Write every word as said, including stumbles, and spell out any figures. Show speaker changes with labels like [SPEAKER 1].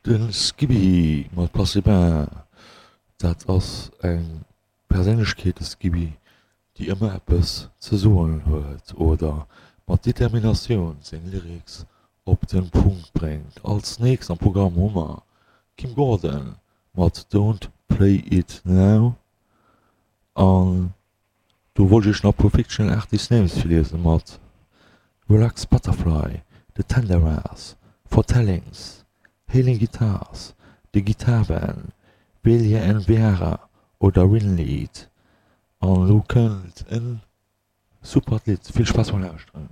[SPEAKER 1] De Skippy mat Place des Bains, dat ass eng Perséinlechkeet, de Skippy, déi ëmmer eppes ze soen huet oder mat Determinatioun seng Lyrics op de Punkt bréngt. Als nächst am Programm hu mer Kim Gordon mat Don't Play It Now an do wollt ech iech nach e puer Fictional Artist Names virliesen mat Relax Butterfly, The Tenderas, Foretellings, Hailing Guitars, The Guitar Band, Velia and Vera oder Winlead. An elo kënnt en supert Lidd. Vill Spaass beim Lauschteren.